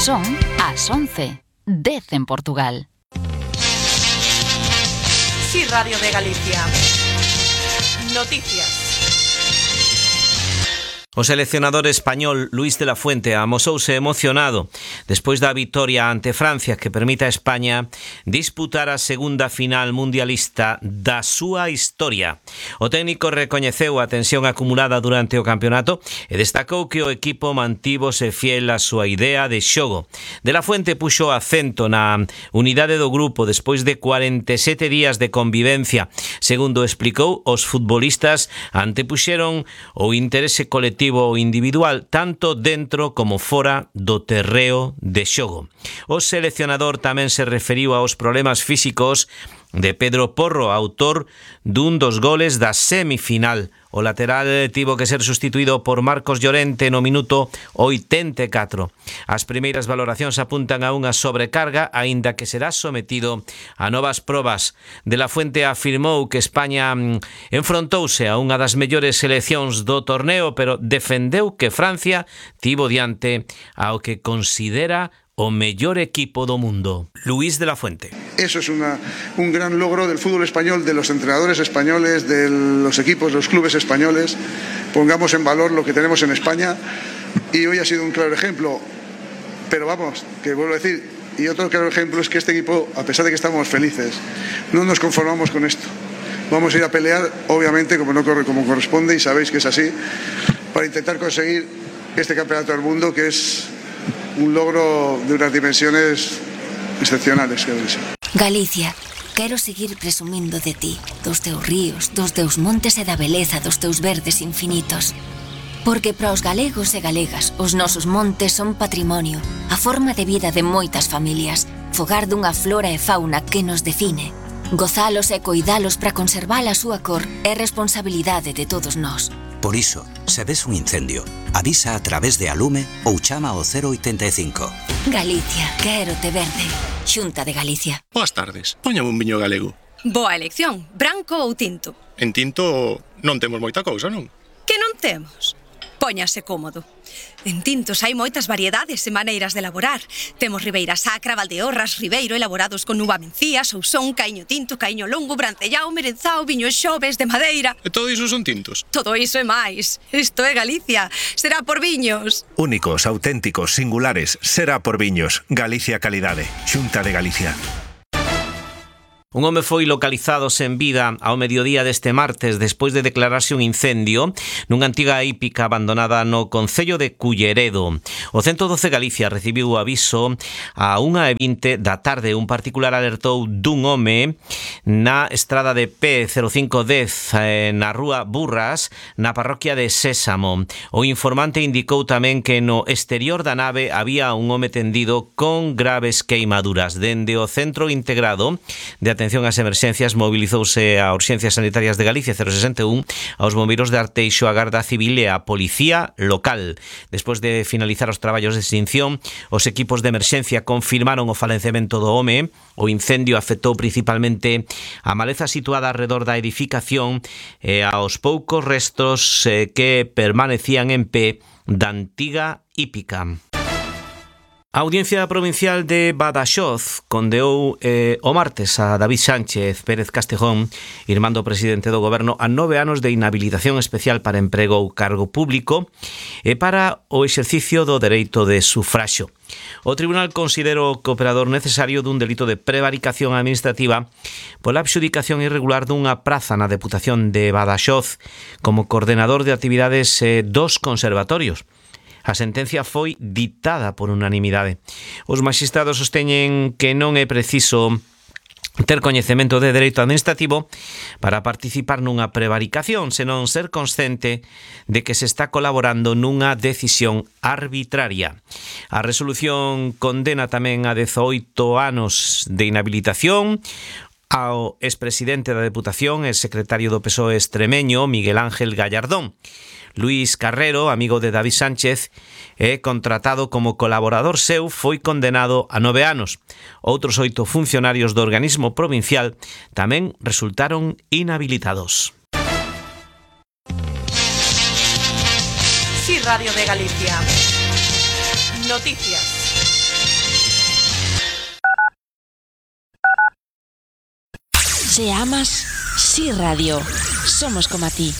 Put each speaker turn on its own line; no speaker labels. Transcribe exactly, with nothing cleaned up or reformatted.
Son as once, dez en Portugal.
Sí, Radio de Galicia. Noticias.
O seleccionador español Luís de la Fuente amosouse emocionado despois da vitoria ante Francia que permite a España disputar a segunda final mundialista da súa historia. O técnico recoñeceu a tensión acumulada durante o campeonato e destacou que o equipo mantívose fiel á súa idea de xogo. De la Fuente puxo acento na unidade do grupo despois de cuarenta e sete días de convivencia. Segundo explicou, os futbolistas antepuxeron o interese colectivo o individual tanto dentro como fora do terreo de xogo. O seleccionador tamén se referiu aos problemas físicos de Pedro Porro, autor dun dos goles da semifinal. O lateral tivo que ser sustituído por Marcos Llorente no minuto oitenta e catro. As primeiras valoracións apuntan a unha sobrecarga, aínda que será sometido a novas probas. De la Fuente afirmou que España enfrontouse a unha das mellores seleccións do torneo, pero defendeu que Francia tivo diante ao que considera o mellor equipo do mundo. Luís de la Fuente.
Eso es una, un gran logro del fútbol español, de los entrenadores españoles, de los equipos, los clubes españoles. Pongamos en valor lo que tenemos en España y hoy ha sido un claro ejemplo. Pero vamos, que vuelvo a decir, y otro claro ejemplo es que este equipo, a pesar de que estamos felices, no nos conformamos con esto. Vamos a ir a pelear, obviamente, como no corre como corresponde, y sabéis que es así, para intentar conseguir este campeonato del mundo, que es un logro de unas dimensiones excepcionales.
Galicia, quero seguir presumindo de ti, dos teus ríos, dos teus montes e da beleza dos teus verdes infinitos. Porque para os galegos e galegas, os nosos montes son patrimonio, a forma de vida de moitas familias, fogar dunha flora e fauna que nos define. Gozalos e coidalos para conservar a súa cor é responsabilidade de todos nós.
Por iso, se ves un incendio, avisa a través de Alume ou chama ao cero oitenta e cinco.
Galicia, quero te verde. Xunta de Galicia.
Boas tardes, póñame un viño galego.
Boa elección, branco ou tinto?
En tinto non temos moita cousa, non?
Que non temos? Póñase cómodo. En tintos hai moitas variedades e maneiras de elaborar. Temos Ribeira Sacra, Valdeorras, Ribeiro, elaborados con uva mencía, Sousón, Caíño Tinto, Caíño Longo, Brancellao, Merenzao, Viños Xoves, de madeira.
E todo iso son tintos?
Todo iso e máis. Isto é Galicia. Será por viños.
Únicos, auténticos, singulares. Será por viños. Galicia Calidade. Xunta de Galicia.
Un home foi localizado sen vida ao mediodía deste martes despois de declararse un incendio nunha antiga hípica abandonada no concello de Culleredo. O ciento doce Galicia recibiu o aviso a unha e vinte da tarde. Un particular alertou dun home na estrada de P cero cinco dez na rúa Burras, na parroquia de Sésamo. O informante indicou tamén que no exterior da nave había un home tendido con graves queimaduras. Dende o Centro Integrado de Atención Atención ás emerxencias mobilizouse a Urxencias Sanitarias de Galicia cero sesenta e un, aos bombeiros de Arteixo, a Garda Civil e a Policía Local. Despois de finalizar os traballos de extinción, os equipos de emerxencia confirmaron o falecemento do home. O incendio afectou principalmente a maleza situada alrededor da edificación e aos poucos restos eh, que permanecían en pé da antiga hípica. A Audiencia Provincial de Badaxoz condeou eh, o martes a David Sánchez Pérez Castejón, irmán do presidente do goberno, a nove anos de inhabilitación especial para emprego ou cargo público e para o exercicio do dereito de sufraxo. O tribunal considerou cooperador necesario dun delito de prevaricación administrativa pola adxudicación irregular dunha praza na Deputación de Badaxoz como coordenador de actividades eh, dos conservatorios. A sentencia foi ditada por unanimidade. Os maxistrados sosteñen que non é preciso ter coñecemento de dereito administrativo para participar nunha prevaricación, senón ser consciente de que se está colaborando nunha decisión arbitraria. A resolución condena tamén a dezoito anos de inhabilitación ao expresidente da Deputación e secretario do P S O E extremeño, Miguel Ángel Gallardón. Luís Carrero, amigo de David Sánchez, e contratado como colaborador seu, foi condenado a nove anos. Outros oito funcionarios do organismo provincial tamén resultaron inhabilitados.
Sí, Radio de Galicia. Noticias.
Se amas, sí radio. Somos como a ti.